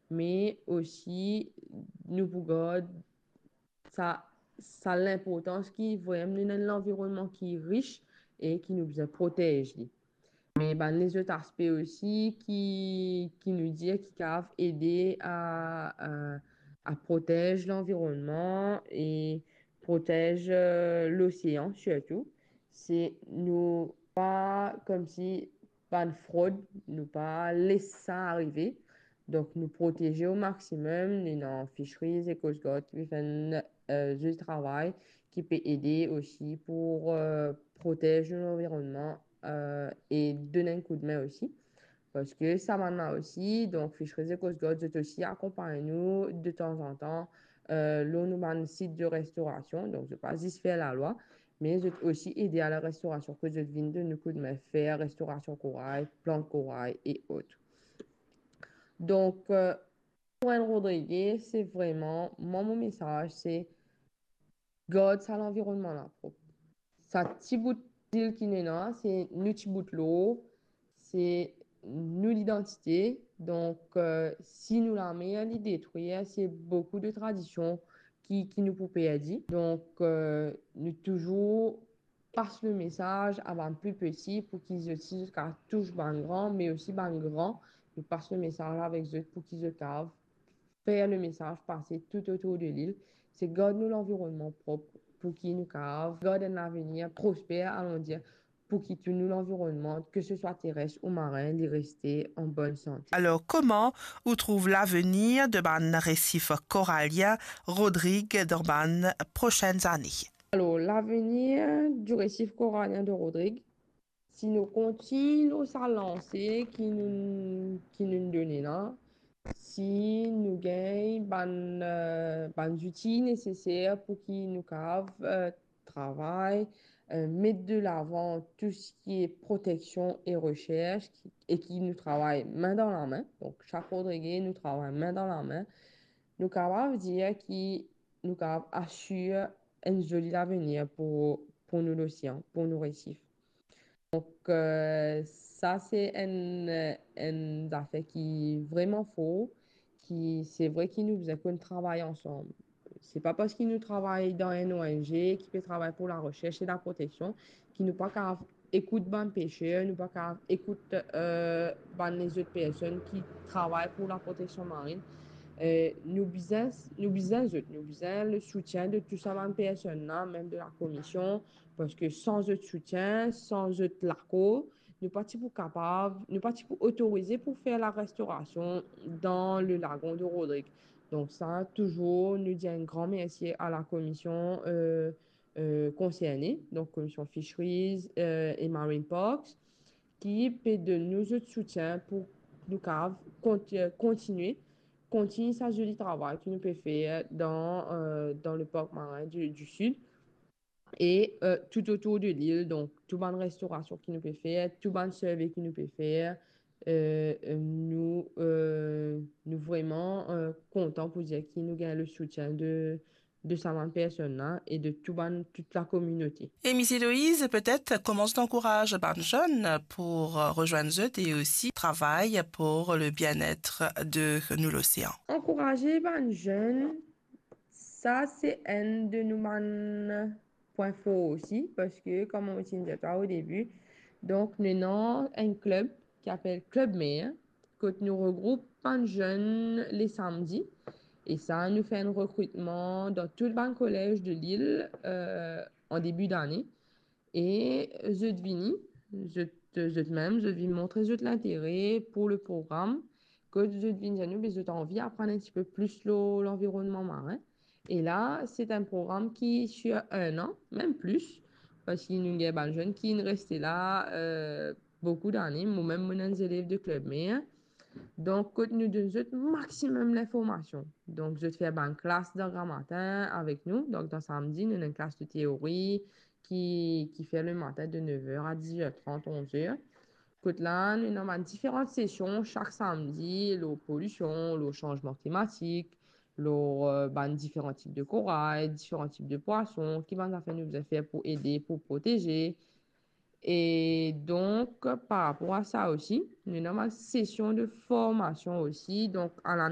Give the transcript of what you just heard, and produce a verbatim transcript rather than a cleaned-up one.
me osi nou pou gard sa, sa linportans ki vremem nou ena enn lanvironnman ki ris e ki nou bizin protez li. Me bann lezot aspe osi ki, ki nou dir ki kapav ede a, a, a protez lanvironnman e protez, eh, losean sirtou, se nou pa koumsi bann frod, nou pa les sa arive. Donk, nou proteze o maximum, nou ena Fisheries e Coast Guard ki pe fer enn, eh, zoli travay, ki pe ede osi pou, eh, protez nou lanvironnman, eh, e donn enn koudme osi. Parski sa bann la osi, donk Fisheries e Coast Guard, zot osi akonpagn nou de tanzantan, eh, lor nou bann sit de restorasion. Donk, zot pa zis fer lalwa, me zot osi ede a larestorasion, kot zot vinn donn nou koudme fer restorasion koray, plant koray e ot. Donk, eh, pou enn Rodrige, se vremem, mwa, mo mesaz, se gard sa lanvironnman la prop. Sa ti bout lil ki nou ena, se nou ti bout lor, se nou lidantite. Donk, eh, si nou lamer li detrir, se boukou de tradision ki, ki nou pou perdi. Donk, eh, nou touzour pas le mesaz a bann pli peti pou ki zot osi zot kapav tous bann gran, me osi bann gran, nou pas le mesaz avek zot pou ki zot kapav fer le mesaz pase tou otour de lil, se gard nou lanvironnman prop pou ki nou kapav gard enn lavenir prosper, alon dir, pou ki tou nou lanvironnman, ke se swa teres ou marin, li reste an bonn sante. Alors, comment ou trouve l'avenir de bann resif koralien Rodrig dan bann prosenn zane? Alors, l'avenir du récif corallien de Rodrig, si nou kontign lor sa lanse ki nou, ki nou done la, si nou gagn bann, eh, bann zouti neseser pou ki nou kapav, eh, travay, eh, met de lavan tou seki proteksion e resers, ki, e ki nou travay min dan lame. Donk, sak Rodrige, nou travay min dan lame. Nou kapav dir ki nou kapav asir enn zoli lavenir pou, pou nou losean, pou nou resif. Donk, eh, sa se enn, enn zafer ki vremem for, ki se vre ki nou bizin konn travay ansam. Se pa parski nou travay dan enn O N G ki pe travay pou laresers e laproteksion ki nou pa kapav ekout bann peser, nou pa kapav ekout, eh, bann lezot personn ki travay pou laproteksion marin. Eh, nou bizin, nou bizin zot, nou bizin le soutien de tou sa bann personn la, mem de lakomision, parski san zot soutien, san zot lakor, nou pa ti pou kapav, nou pa ti pou otorize pou fer larestorasion dan le lagon de Rodrig. Donk sa, touzour, nou dir enn gran mersi a lakomision, eh, eh, konserne, donk Komision Fisheries, eh, e Marine Parks, ki pe donn nou zot soutien pou nou kapav kont-, eh, kontigne, kontigne sa zoli travay ki nou pe fer dan, eh, dan le Parc Marin du, du Sud e, eh, tou otour de lil. Donk, tou bann restorasion ki nou pe fer, tou bann survey ki nou pe fer, eh, eh, nou, eh, nou vremem, eh, kontan pou dir ki nou gagn le soutien de, de sa bann personn la e de tou bann, tout lakominote. E Miss Eloïse, peut-être, comment tu encourages bann zenn pou, euh, rezwenn zot e osi travay pou le bien-être de nou losean? Ankouraze bann zenn, sa se enn de nou bann pwin for osi, parski, kouma mo ti dir twa o debi, donk, nou ena enn klib ki apel Klib Mer, kot nou regroup bann zenn le samdi. E sa, nou fer enn rekritman dan tou bann kolez de lil, eh, an debi dane. E zot vini, zot, zot mem, zot vinn montre zot lintere pou le program. Kot zot vinn dir nou, be zot anvi aprann enn tipe plis lor lanvironnman marin. E la, se enn program ki sir enn an, mem plis, parski nou gagn bann zenn ki inn reste la, eh, boukou dane. Mo mem, mo ena enn zelev de Klib Mer. Donk, kot nou donn zot maximum linformasion. Donk, zot fer bann klas dan gramatin avek nou. Donk, dan samdi, nou ena enn klas de teori ki, ki fer le matin de nev er a diz er trant, onz er. Kot la, nou ena bann diferan sesion sak samdi, lor polision, lor sanzman klimatik, lor, eh, bann diferan tip de koray, diferan tip de pwason, ki bann zafer nou bizin fer pou ede, pou proteze. E donk, par rapor a sa osi, nou ena bann sesion de formasion osi. Donk, a la